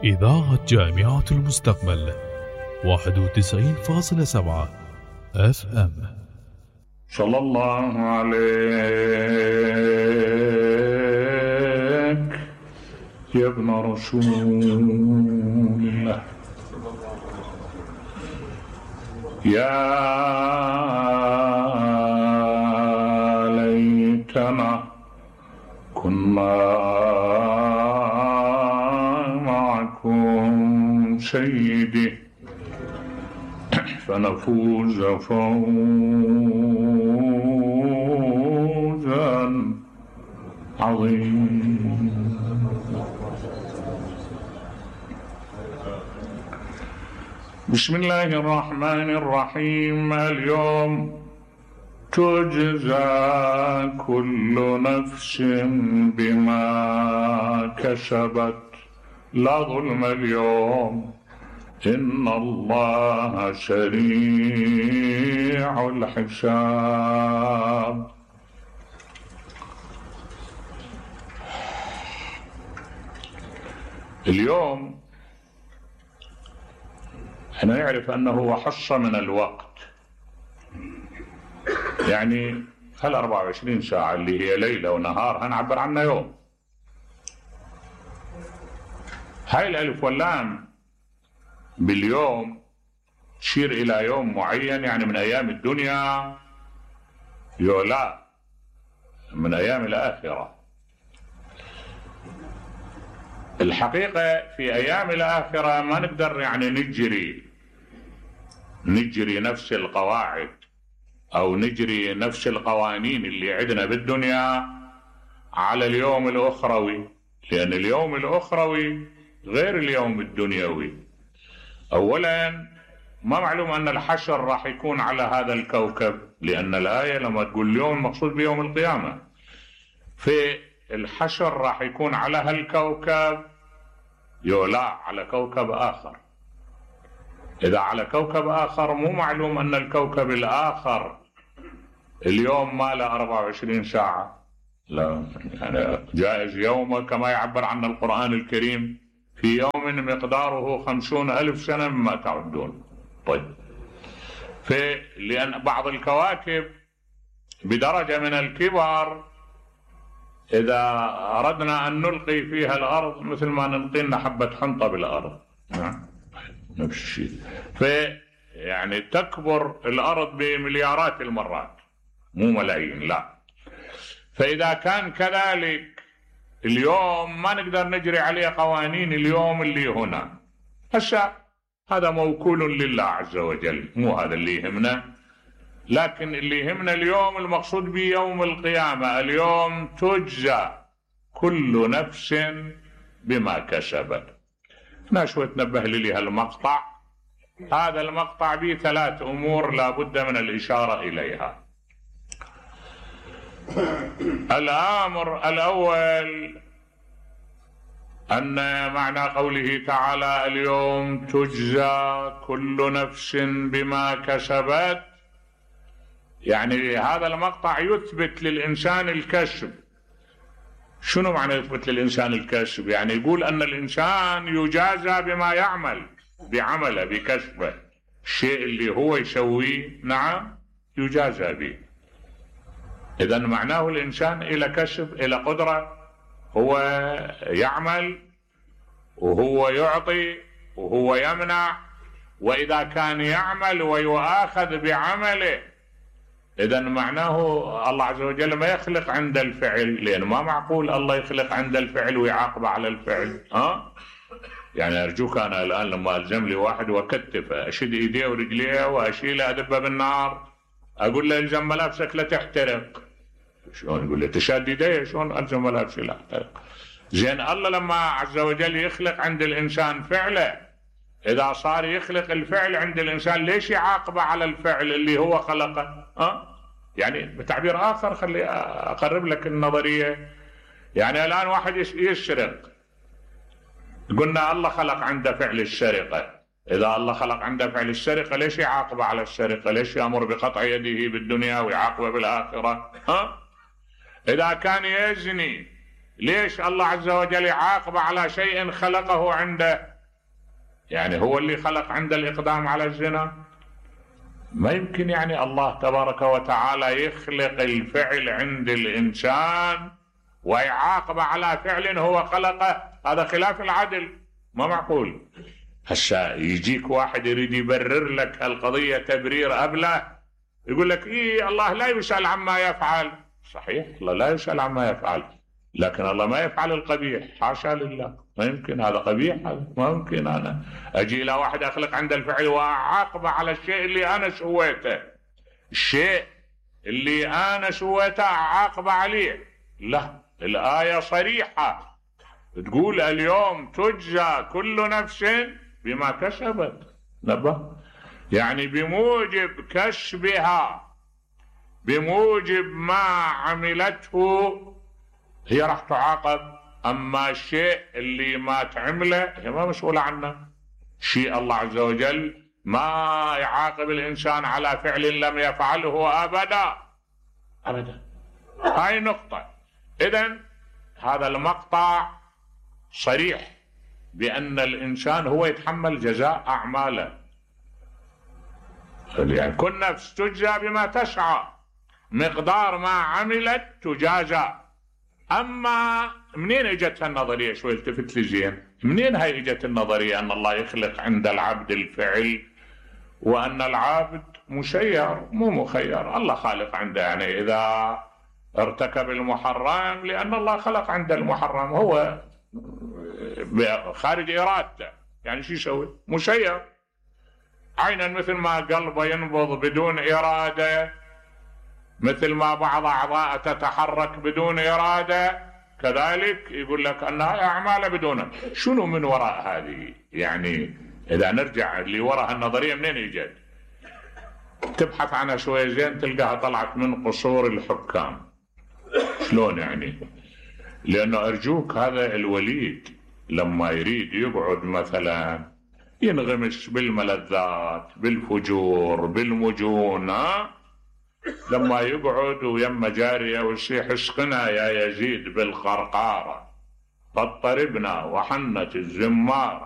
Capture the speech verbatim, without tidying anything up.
إذاعة جامعة المستقبل واحد وتسعين فاصلة سبعة اف ام. صلى الله عليك يا ابن رسول الله، يا ليتنا كنا معكم سيدي فنفوز فوزا عظيما. بسم الله الرحمن الرحيم. اليوم تجزى كل نفس بما كسبت لا ظلم اليوم إن الله سريع الحساب. اليوم احنا نعرف أنه هو حصة من الوقت، يعني هل أربعة وعشرين ساعة اللي هي ليلة ونهار هنعبر عنها يوم. هاي الألف واللام باليوم تشير إلى يوم معين، يعني من أيام الدنيا، يولا من أيام الآخرة. الحقيقة في أيام الآخرة ما نقدر يعني نجري نجري نفس القواعد أو نجري نفس القوانين اللي عندنا بالدنيا على اليوم الأخروي، لأن اليوم الأخروي غير اليوم الدنيوي. أولا ما معلوم أن الحشر راح يكون على هذا الكوكب، لأن الآية لما تقول اليوم المقصود بيوم القيامة، في الحشر راح يكون على هالكوكب يولا على كوكب آخر. إذا على كوكب آخر مو معلوم أن الكوكب الآخر اليوم ما له أربعة وعشرين ساعة، لا، يعني جائز يوم كما يعبر عنه القرآن الكريم في يوم مقداره خمسون ألف سنة مما تعدون. طيب، في لأن بعض الكواكب بدرجة من الكبر إذا أردنا أن نلقي فيها الأرض مثل ما نلقي لنا حبة حنطة بالأرض، نفس الشيء. في يعني تكبر الأرض بمليارات المرات مو ملايين، لا. فإذا كان كذلك اليوم ما نقدر نجري عليه قوانين اليوم اللي هنا، هسه هذا موكول لله عز وجل، مو هذا اللي يهمنا. لكن اللي يهمنا اليوم المقصود به يوم القيامة. اليوم تجزى كل نفس بما كسبت. هنا شوي تنبه لي هالمقطع. هذا المقطع به ثلاث أمور لابد من الإشارة إليها. الأمر الأول أن معنى قوله تعالى اليوم تجزى كل نفس بما كسبت، يعني هذا المقطع يثبت للإنسان الكسب. شنو معنى يثبت للإنسان الكسب؟ يعني يقول أن الإنسان يجازى بما يعمل، بعمله بكسبه، الشيء اللي هو يسويه نعم يجازى به. إذن معناه الإنسان إلى كسب، إلى قدرة، هو يعمل وهو يعطي وهو يمنع. وإذا كان يعمل ويؤاخذ بعمله، إذن معناه الله عز وجل ما يخلق عند الفعل، لأن ما معقول الله يخلق عند الفعل ويعاقب على الفعل. ها؟ يعني أرجوك أنا الآن لما ألزم لي واحد وأكتفه أشد إيديه ورجليه وأشيله أدبه بالنار، أقول له إلزم ملابسك لا تحترق. شلون يقول لي تشاد إيديه؟ شلون ألزم ملابسي لا تحترق؟ زين الله لما عز وجل يخلق عند الإنسان فعله، إذا صار يخلق الفعل عند الإنسان ليش يعاقبه على الفعل اللي هو خلقه؟ ها؟ يعني بتعبير آخر خلي أقرب لك النظرية. يعني الآن واحد يسرق، قلنا الله خلق عنده فعل السرقة، إذا الله خلق عنده فعل السرقة ليش يعاقبه على السرقة؟ ليش يأمر بقطع يده بالدنيا ويعاقبه بالآخرة؟ ها؟ إذا كان يزني ليش الله عز وجل يعاقب على شيء خلقه عنده؟ يعني هو اللي خلق عنده الإقدام على الزنا؟ ما يمكن يعني الله تبارك وتعالى يخلق الفعل عند الإنسان ويعاقب على فعل هو خلقه. هذا خلاف العدل، ما معقول. هسا يجيك واحد يريد يبرر لك القضية تبرير أبله، يقول لك إيه الله لا يسأل عما يفعل. صحيح، الله لا يسأل عما يفعل، لكن الله ما يفعل القبيح، حاشا لله، ما يمكن. هذا قبيح، هذا ما يمكن. أنا أجي إلى واحد أخلق عند الفعل وأعاقبه على الشيء اللي أنا سويته، الشيء اللي أنا سويته أعاقبه عليه. لا، الآية صريحة تقول اليوم تجزى كل نفس بما كسبت. نبه، يعني بموجب كسبها، بموجب ما عملته هي راح تعاقب. أما الشيء اللي ما تعمله هي ما مسؤولة عنه. شيء الله عز وجل ما يعاقب الإنسان على فعل لم يفعله أبدا أبدا. هاي نقطة. إذن هذا المقطع صريح بأن الإنسان هو يتحمل جزاء أعماله. يعني كل نفس تجزى بما تسعى، مقدار ما عملت تجازى. أما منين اجت النظرية؟ شوي التفت لي زين، منين هاي اجت النظرية أن الله يخلق عند العبد الفعل وأن العبد مسير مو مخير؟ الله خالق عنده، يعني إذا ارتكب المحرم لأن الله خلق عنده المحرم، هو خارج إرادته، يعني شو يسوي؟ مسير. عينا مثل ما قلبه ينبض بدون إرادة، مثل ما بعض أعضاء تتحرك بدون إرادة، كذلك يقول لك أنها أعمال بدون. شنو من وراء هذه؟ يعني إذا نرجع اللي وراء النظرية منين يجد؟ تبحث عنها شوية زين تلقاها طلعت من قصور الحكام. شلون يعني؟ لأنه أرجوك هذا الوليد لما يريد يقعد مثلا ينغمس بالملذات، بالفجور، بالمجون، ها؟ لما يقعد ويما جارية ويصيح اسقنا يا يزيد بالقرقارة، فاضطربنا وحنت الزمارة.